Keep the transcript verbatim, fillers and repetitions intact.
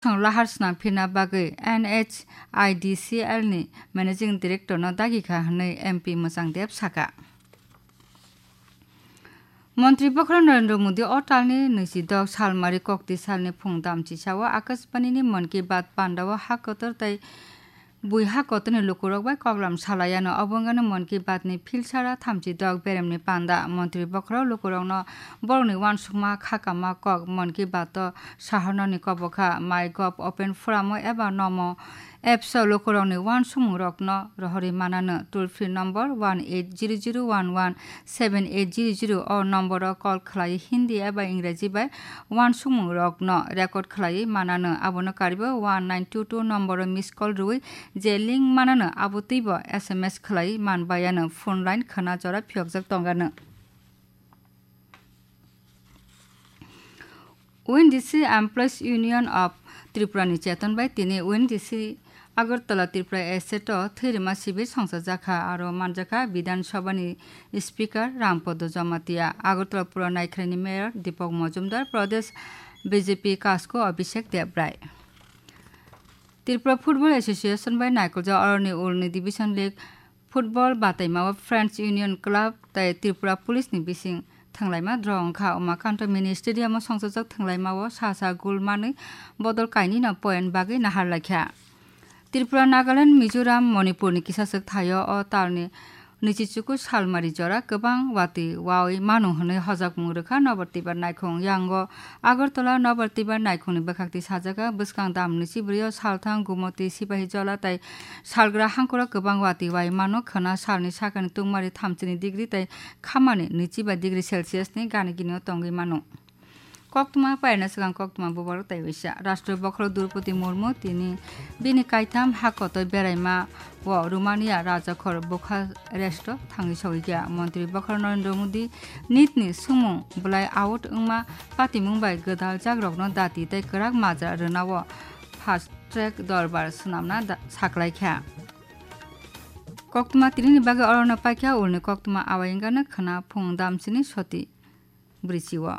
Bwskango lahar swnam phirna bagwi N H I D C L ni Managing Director no dagi kha hwnwi M P Mwchang Deb saka. Montri Bokhorok Narendra Modi o talni nwichidok salmari kokti salni phung damchisao Akashbani ni Mann Ki Baat pandao ha kotor tei bui ha kotorni lukurok bai koklam salaiano. Obo wngkha Mann Ki Baat ni philsara thamchidok beremni panda. Montri Bokhorok lukurokno borokni uansukma khakama kok Mann Ki Baat o sahornani kobokha. MyGov Open Forum o eba Namo Apps o lukurokni uansukmungrokno rohorwi manano. Toll free number one eight zero zero one one seven eight zero zero o nomboro call khlaiwi Hindi eba Ingraji bai uansukmungrokno record khlaiwi manano. Abono karibo one nine two two nomboro miss call rwui je link manano, abo twibo S M S khlaiwi manbayano. Phone line khwna jora phiyokjak tongano. O N G C Employees Union of Tripura ni cheton bai tini O N G C Agartala Tripura Estate o thwirima sibir songchajakha, aro manjakha Bidhan Sabha ni Speaker Rampodo Jamatia, Agartala Pura Naikhrai ni Mayor Deepak Majumdar, Pradesh B J P Kasko Abhishek Debrai. Tripura Football Association bai naikoljak oroni ulni Division League Football bataimao Friends Union Club tei Tripura Police ni bising thwnglaima draw wngkha. Umakanto Mini Stadium o songchajak thwnglaimao sa sa goal manwi bodol kainwino point bagwi nahar laikha. Tripura, Nagaland, Mizoram, Manipur ni kisaswk thaio o talni nwichichuku salmari jora kwbang watwi wawi mano hwnwi hojakmung rwkha Nobar Tibar Naikhung. Yango Agartala Nobar Tibar Naikhungni bwkhakti sajagha bwskang dam nwichi bwrwi o salthang Gumoti, Sipahijola tei salgra hangkoro kwbang watwi wai mano khwna. Salni sakani tungmari thamchini degree tei khamani nwichiba degree Celsius ni gani gini o tongwi mano. Koktwma pairna swkang koktwma bubagrok tei waisa. Rashtra bokhorok Droupadi Murmu tini bini kaitham hakotoi beraima o Romania rajakhor Bucharest o thangwi sogwi kha. Montri bokhorok Narendra Modi nitni sumung bwlai out wngma patimung bai gwdaljakrokno dati tei kwrak majra rwnao fast track dorbar swnamna da-, saklaikha. Koktwma tinini bagwi orono paikha ulni koktwma awai wngkha khwna phung damsini soti bwrwichio.